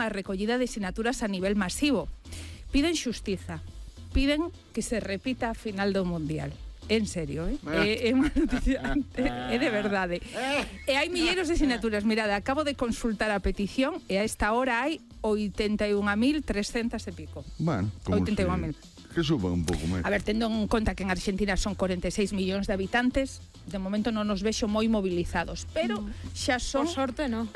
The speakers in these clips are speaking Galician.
a recollida de sinaturas a nivel masivo. Piden xustiza, piden que se repita a final do Mundial. En serio, é unha noticia, é de verdade. E hai milleiros de sinaturas. Mirade, acabo de consultar a petición e a esta hora hai 81.300 e pico. Bueno, como 81.000. Que suba un pouco máis. A ver, tendo en conta que en Argentina son 46 millóns de habitantes, de momento non nos vexo moi movilizados, pero xa son... Por sorte, non.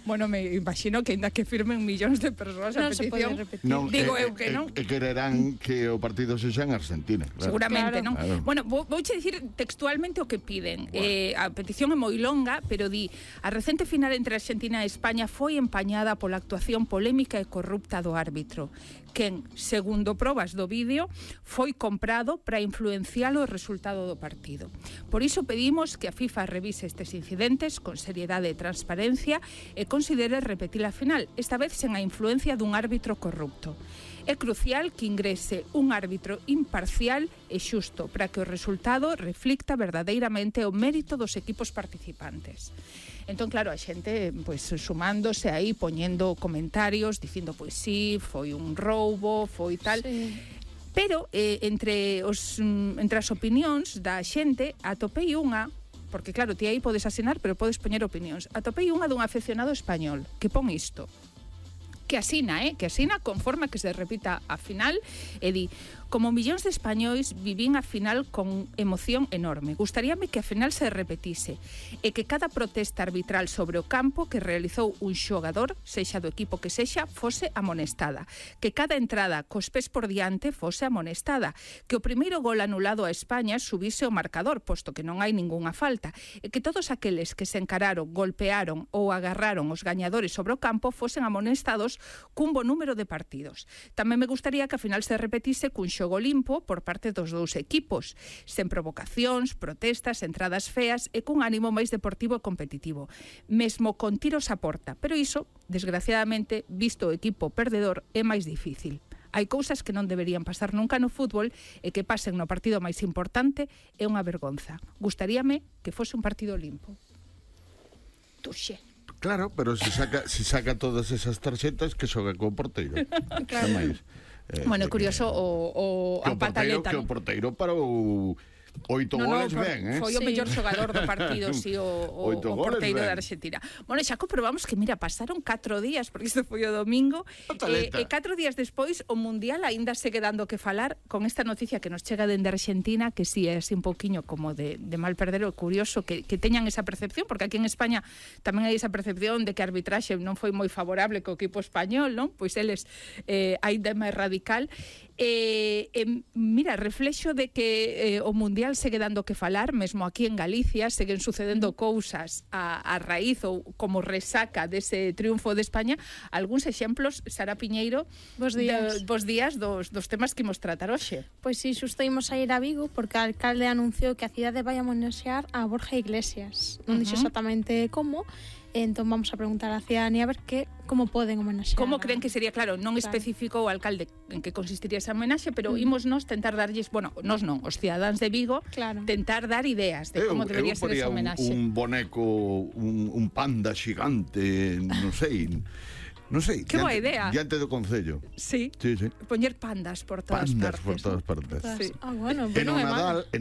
Bueno, me imagino que ainda que firmen millóns de persoas a Non se pode petición. repetir. Non, digo eu que non. E quererán que o partido sexa en Argentina. Claro. Seguramente, Claro. non? Claro. Bueno, vouche dicir textualmente o que piden. A petición é moi longa, pero di: a recente final entre Argentina e España foi empañada pola actuación polémica e corrupta do árbitro, quen, segundo probas do vídeo, foi comprado para influenciar o resultado do partido. Por iso pedimos que a FIFA revise estes incidentes con seriedade e transparencia e considere repetir a final, esta vez sen a influencia dun árbitro corrupto. É crucial que ingrese un árbitro imparcial e xusto para que o resultado reflicta verdadeiramente o mérito dos equipos participantes. Entón, claro, a xente pois sumándose aí, poñendo comentarios, dicindo, pois sí, foi un roubo, foi tal... Sí. Pero entre as opinións da xente atopei unha, porque claro, ti aí podes asinar, pero podes poñer opinións. Atopei unha dun afeccionado español que pon isto, que asina conforme que se repita a final e di: como millóns de españois vivín a final con emoción enorme. Gustaríame que a final se repetise e que cada protesta arbitral sobre o campo que realizou un xogador, sexa do equipo que sexa, fose amonestada. Que cada entrada cos pés por diante fose amonestada. Que o primeiro gol anulado a España subise o marcador, posto que non hai ningunha falta. E que todos aqueles que se encararon, golpearon ou agarraron os gañadores sobre o campo fosen amonestados cun bo número de partidos. Tamén me gustaría que a final se repetise cun xogo limpo por parte dos dous equipos, sen provocacións, protestas, entradas feas e cun ánimo máis deportivo e competitivo, mesmo con tiros a porta, pero iso, desgraciadamente, visto o equipo perdedor, é máis difícil. Hai cousas que non deberían pasar nunca no fútbol e que pasen no partido máis importante é unha vergonza. Gustaríame que fose un partido limpo. Tuxe. Claro, pero se saca todas esas tarxetas que xoga co porteiro. Claro. Bueno, é curioso a pataleta. Que o porteiro parou 8 goles ben, Foi o mellor xogador do partido, si, o porteiro da Argentina. Bueno, xa comprobamos que, mira, pasaron 4 días, porque isto foi o domingo, e 4 días despois o Mundial aínda segue dando que falar con esta noticia que nos chega dende Argentina, que si é así un pouquiño como de mal perder. O curioso que teñan esa percepción, porque aquí en España tamén hai esa percepción de que a arbitraxe non foi moi favorable co equipo español, non? Pois eles aínda máis radical. Mira, reflexo de que o Mundial segue dando que falar, mesmo aquí en Galicia seguen sucedendo cousas a raíz ou como resaca dese triunfo de España. Algúns exemplos, Sara Piñeiro, Bos días dos temas que imos tratar hoxe. Pois si, xusto imos a ir a Vigo porque o alcalde anunciou que a cidade vai homenaxear a Borja Iglesias. Non dixo exactamente como. Entón vamos a preguntar a cidadanía a ver como poden homenaxear. Como creen que sería, claro, non especificou o alcalde en que consistiría esa homenaxe, pero imos nos tentar darlles, bueno, nos non, os cidadáns de Vigo, tentar dar ideas de como debería ser esa homenaxe. Un boneco, un panda xigante, non sei. Non sei. Que boa idea. Diante do Concello. Sí. Poñer pandas por todas partes. Sí. Bueno, e no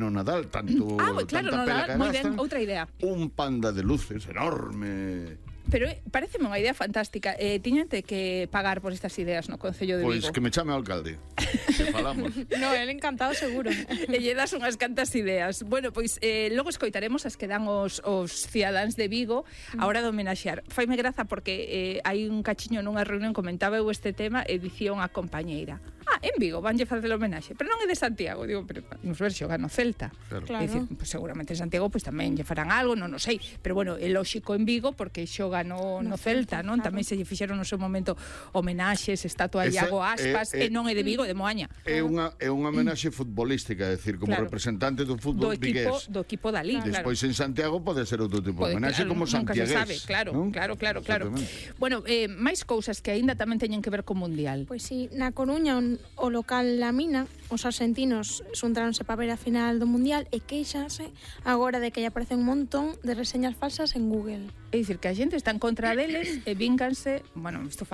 Nadal, tanto claro, no Nadal, moi ben, outra idea. Un panda de luces enorme. Pero pareceme unha idea fantástica. Tiñante que pagar por estas ideas no Concello de Vigo. Pois que me chame ao alcalde. Que falamos. No, ele encantado seguro. E lle das unhas cantas ideas. Bueno, pois logo escoitaremos as que dan os cidadáns de Vigo a hora de homenaxear. Faime graza porque hai un cachiño nunha reunión comentaba eu este tema e dicía unha compañeira: en Vigo vanlle facer o homenaxe, pero non é de Santiago. Digo, pero nos ver xoga no Celta. Claro. Dicir, pues, seguramente en Santiago pues tamén lle farán algo, non o sei, pero bueno, é lóxico en Vigo porque xoga no Celta, non? Claro. Tamén se lle fixeron no seu momento homenaxes, estatua a Iago Aspas, e non é de Vigo, é de Moaña. É unha homenaxe futbolística, é dicir, como representante do fútbol vigués. Do equipo da Liga. Despois en Santiago pode ser outro tipo de homenaxe, como santiagués. Nunca se sabe, claro. Bueno, máis cousas que aínda tamén teñen que ver co Mundial. Pois si, na Coruña, o local La Mina, os argentinos xuntaronse para ver a final do Mundial e queixanse agora de que lle aparecen un montón de reseñas falsas en Google. É dicir, que a xente está en contra deles e vínganse, bueno, isto